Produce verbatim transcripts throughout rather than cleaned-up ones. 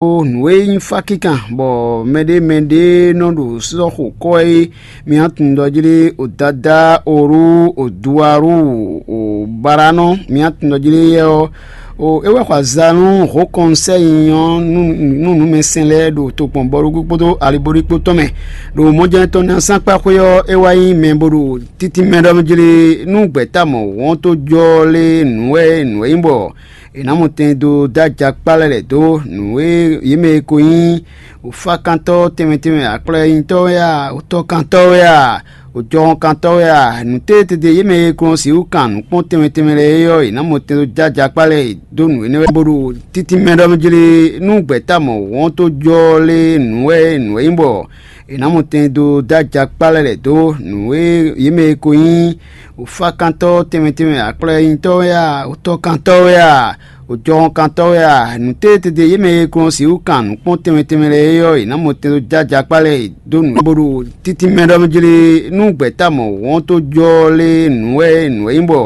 Nǔ e nyí fá kíkan bɔ mɛɖé mɛɖé nɔ ɖo sɔ́xo kɔ́ é, mi nǎ tunwun ɖɔ jí ɖé: Odada, Oru, Oduaru, Obaranɔ, mi nǎ tunwun ɖɔ jí ɖé yɛ ɔ́, é wɛ xɔ aza nú hǒkɔnsɛ́ nyinyi ɔ́ nú nǔmɛsɛn lɛ́ɛ ɖo tokpɔn bɔɖógbó kpódó aliboɖíkpó tɔn mɛ, ɖo mɔjɛ́nɛ́ tɔn ná sánkpa xwé ɔ́, é wá nyí mɛ bó ɖo títínmɛ ɖɔ mɛ jí ɖé: Nú gbɛ̌ta mɔ wɔ̌n tó jɔ lé nǔ wɛ nǔ e nyí bɔ è nǎ mɔ tɛn dó dó ajakpá lɛ́ lɛ̌ dó nǔ e yě mɛ e ko nyí wǔfákantɔ́ tɛnmɛ tɛnmɛ, aklɔ́nyitɔ́ wɛ a, wǔtɔ́kantɔ́ wɛ a, wǔjɔhɔnkantɔ́ wɛ a, nǔ tétete yě mɛ e ko nɔ sixú kan nǔ kpɔ́n tɛnmɛ tɛnmɛ lɛ́ɛ é ɔ́, è nǎ mɔ tɛn dó dó ajakpá lɛ́ɛ dó nǔ énɛ́ wɛ bó ɖo títínmɛ ɖɔ mɛ jí lé. Nú gbɛ̌ta mɔ wɔ̌n tó jɔ lé nǔ wɛ nǔ e nyí bɔ è nǎ mɔ tɛn dó dó ajakpá lɛ́ɛ lɛ̌ dó nǔ e yě mɛ e ko nyí wǔfákantɔ́ tɛnmɛ tɛnmɛ, aklɔ́nyitɔ́ wɛ a, wǔtɔ́kantɔ́ wɛ a, wǔjɔhɔnkantɔ́ wɛ a, nǔ tétete yě mɛ e ko nɔ sixú kan nǔ kpɔ́n tɛnmɛ tɛnmɛ lɛ́ɛ é ɔ́, è nǎ mɔ tɛn dó dó ajakpá lɛ́ɛ dó nǔ bó ɖo títínmɛ ɖɔ mɛ jí lé. Nú gbɛ̌ta mɔ wɔ̌n tó jɔ lé nǔ wɛ nǔ e nyí bɔ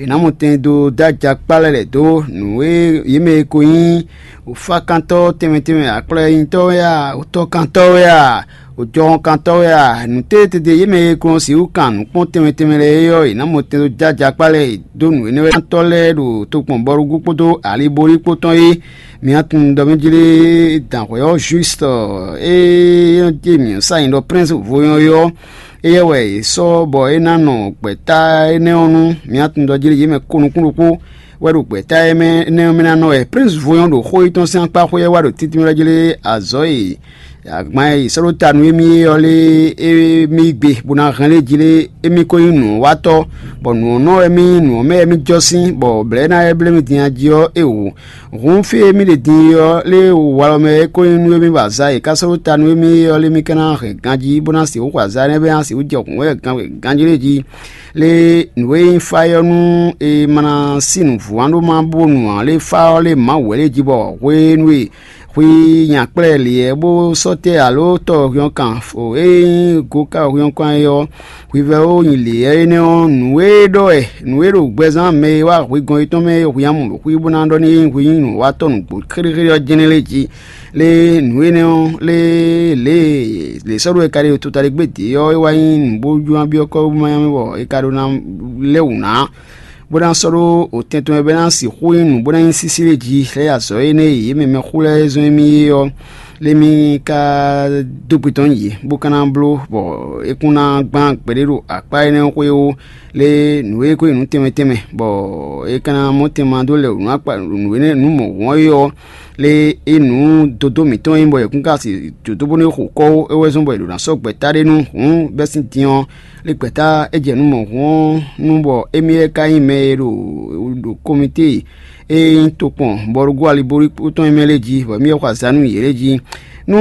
è nǎ mɔ tɛn dó dó ajakpá lɛ́ɛ lɛ̌ dó nǔ e yě mɛ e ko nyí wǔfákantɔ́ tɛnmɛ tɛnmɛ, aklɔ́nyitɔ́ wɛ a, wǔtɔ́kantɔ́ wɛ a, wǔjɔhɔnkantɔ́ wɛ a, nǔ tétete yě mɛ e ko nɔ sixú kan nǔ kpɔ́n tɛnmɛ tɛnmɛ lɛ́ɛ é ɔ́, è nǎ mɔ tɛn dó dó ajakpá lɛ́ɛ dó nǔ énɛ́ wɛ tɔ́ lɛ́ɛ ɖo tokpɔn bɔɖógbó kpódó aliboɖíkpó tɔn é. Mi nǎ tunwun ɖɔ mɛ jí lé dǎnhwɛ́ ɔ́ Jwisu e nɔ jí mǐ sa nyi ɖɔ Prɛ́nsi vo nyɔ́ é ɔ́, éyɛ́ wɛ è sɔ́ bɔ é ná nɔ gbɛ̌ta énɛ́ ɔ́ nu. Mi nǎ tunwun ɖɔ jí lé yě mɛ ko nukún ɖokpó wɛ ɖo gbɛ̌ta énɛ́ ɔ́ mɛ ná nɔ wɛ. Prɛ́nsi vo nyɔ́ ɖo xó yětɔn sín akpá xwé ɔ́ wá ɖo títínmɛ jí lé azɔ̌ e agban e è sɔ́ ɖó ta nú émí é ɔ́ lé émí gbe, bó ná hɛn lé jí lé émí ko nyí nǔwatɔ́, bɔ nǔ ɔ́ nɔ wɛ mì nyí, nǔ ɔ́ mɛ wɛ mì jɔ sín, bɔ blɛ̌ ná wɛ bló mì din jí ɔ́, é wǔ. Hǔn fí e mì ɖe din é ɔ́, lé walɔ mɛ wɛ é ko nyí nú émí bɔ azǎn e è ka sɔ́ ɖó ta nú émí é ɔ́, lé mì ka ná hɛn ganjí, bó ná sixú xɔ azǎn énɛ́ bɛ́ ná sixú jɛ hǔn wɛ ganjí lě jí. Lé nǔ e nyí fá é ɔ́, nú è ma ná sí nǔvú ǎ ɖó ma bó nu ǎ, lé fá ɔ́ lé Mawu wɛ lé jí bɔ hwenu e hwi nya kplá ɛ lě ɛ bó sɔ́ tɛ́ alo tɔ hwinkan fo e nyí goka hwinkan é ɔ́, hwivɛ́ ó nyi lě ɛ énɛ́ ɔ́, nǔ e ɖɔ wɛ nǔ e ɖo gbɛzán mɛ e wá hwegɔn yětɔn mɛ é hwi amú ɖo xwí bó ná ɖɔ n'i hwi nyí nǔwatɔ́ nǔgbó xéɖéxéɖé ɔ́ jɛ́n lé jí. Lé nǔ énɛ́ ɔ́, lé lě e lě sɔ́ ɖó e ka ɖe tota ɖé gbé dě ɔ́, é wá nyí nǔ bó jló ná byɔ́ kɔ́ bó má nyá mɛ bɔ è ka ɖó ná lɛ́ wǔ ná. Bó ná sɔ́ ɖó otɛn tɔn e bɛ́ ná sixú nyí nǔ bó ná nyí sísí lé jí, lɛ́ azɔ̌ énɛ́ e yě mɛ mɛxú lɛ́ɛ zɔ́n émí é ɔ́, lé mì ka dó gbe tɔn nyi yě, bó ka ná bló, bɔ é kún ná gbán gbeɖé ɖo akpá énɛ́ xwé ó, lé nǔ e ko nyí nǔ tɛnmɛ tɛnmɛ, bɔ é ka ná mɔ tɛnmɛ dó lɛ nǔ akpa nǔ énɛ́ nǔ mɔ̌hun ɔ́ é ɔ́, lé é nǔ dodó mǐtɔn nyí bɔ è kún ka si dǒdó bónú é xo kɔ́ ó, é wɛ zɔ́n bɔ è ɖǒ ná sɔ́ gbɛ̌ta ɖé nú hǔn bɛ́ sín din ɔ́, lé gbɛ̌ta é jɛ nǔ mɔ̌hun ɔ́ nu, bɔ émí wɛ ka nyí mɛ e ɖo ɖo komite e nyí tokpɔn bɔlugú alibolikpo tɔn e mɛ lɛ́ɛ jí, bɔ émí wɛ xɔ azǎn nú yě lɛ́ɛ jí. Nú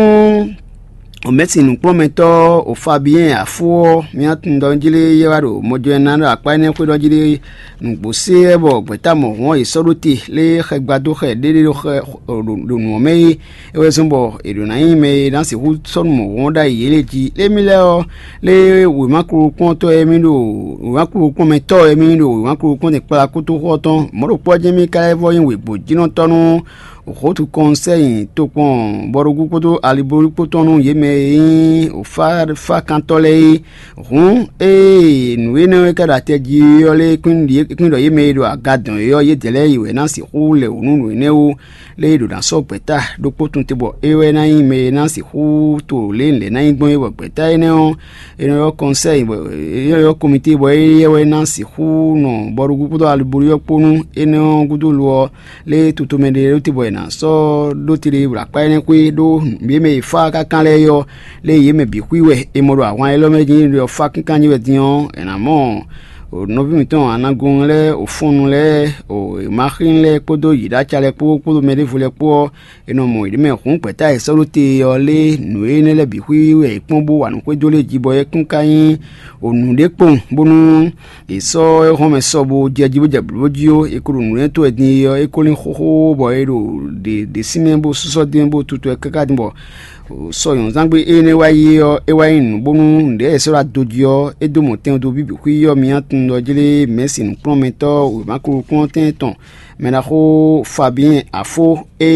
mɛ̌si nǔkplɔ́nmɛtɔ́ o Fabiyɛ́n Afó ɔ́, mǐ tunwun ɖɔ jí lé yɛ wá ɖo mɔjɔnɔ ná ɖo akpá énɛ́ xwé ɖɔ jí lé nǔgbó se wɛ bɔ gbɛ̌ta mɔ̌hun ɔ́ yě sɔ́ ɖó te, lé xɛ gbadó xɛ ɖéɖé ɖo xɛ ɖo nǔ ɔ́ mɛ é, é wɛ zɔ́n bɔ è ɖǒ ná nyí mɛ e ná sixú sɔ́ nú mɔ̌hun ɔ́ ɖ'ayǐ yě lɛ́ɛ jí. Lé mì lɛ́ɛ ɔ́, lé wěma kplɔ́nkplɔ́ntɔ́ e mì ɖo wěma kplɔ́nkplɔ́nmɛtɔ́ e mì ɖo wěma kplɔ́nkplɔ́n tɛn kplá kútúxɔ ɔ́ tɔn, mɔ̌ ɖokpó ɔ́ jɛ́n mì ka lɛ́ vɔ́ nyí wěgbojínɔtɔ́ nú hǒtu kɔnsɛ́ nyi tokpɔn bɔɖógún kpódó aliblóɖú kpó tɔn nú yě mɛ e nyí wǒfáfákantɔ́ lɛ́ɛ é. Hǔn, ée nǔ énɛ́ e ka ɖo atɛ jí ɔ́ lɛ́ɛ kún ɖɔ yě mɛ e ɖo aga dɔn é ɔ́, yědɛɛ lɛ́ɛ yi wɛ ná sixú lɛ wǔ nú nǔ énɛ́ ó. Lé e ɖo ná sɔ́ gbɛ̌ta ɖokpó tun te bɔ é wɛ ná nyí mɛ e ná sixú to lě e lɛ̌ ná nyí gbɔn é, bɔ gbɛ̌ta énɛ́ ɔ́, è nɔ ylɔ́ kɔnsɛ́yi, bɔ è nɔ ylɔ́ komite, bɔ éyɛ́ wɛ ná sixú nɔ bɔɖógún kpódó aliblóɖú ɔ́ kpó nú énɛ́ ɔ́ gúdo lo ɔ́, lé toto mɛ ɖé ɖó te bɔ è nǎ sɔ́ ɖó te ɖé ɖo akpá énɛ́ xwé ɖó yě mɛ e fá káká lɛ́ɛ é ɔ́, lé yě mɛ bǐ xwí wɛ è mɔ ɖo ahwan élɔ́ mɛ jí ɖɔ fá kínkan jí wɛ din ɔ́, è nǎ mɔ nɔví mǐtɔn Anagɔn lɛ́ɛ, o fɔnnu lɛ́ɛ, o Maxín lɛ́ɛ kpódó Yiɖaca lɛ́ɛ kpó kpódó mɛ ɖěvo lɛ́ɛ kpó ɔ́, è nɔ mɔ yě mɛ hǔn gbɛ̌ta e è sɔ́ ɖó te ɔ́ lé nǔ énɛ́ lɛ́ɛ bǐ xwí wɛ è kpɔ́n bó wa nǔ xwedó lé jí bɔ é kún ka nyí nǔɖé kpowun, bónú è sɔ́ éhɔ́nmɛ sɔ bó jɛ jí bó jɛ blǒ jí ó. È ko ɖo nǔ énɛ́ to wɛ din é ɔ́, é ko lín xóxó bɔ è ɖo ɖě ɖě sín mɛ bó sɔ́ dín bó tutwɛ káká din bɔ sɔ nyɔ̌zángbé énɛ́ wá yi ɔ́, é wá nyí nǔ bónú nǔɖé è sɔ́ ɖó ado jí ɔ́, é dó mɔ tɛn dó bíbí xwí ɔ́. Mi tunwun ɖɔ jlé mɛ̌si nǔkplɔ́nmɛtɔ́ wěma kplɔ́nkplɔ́n tɛn tɔn mɛ ɖaxó Fabiyɛ́n Afó e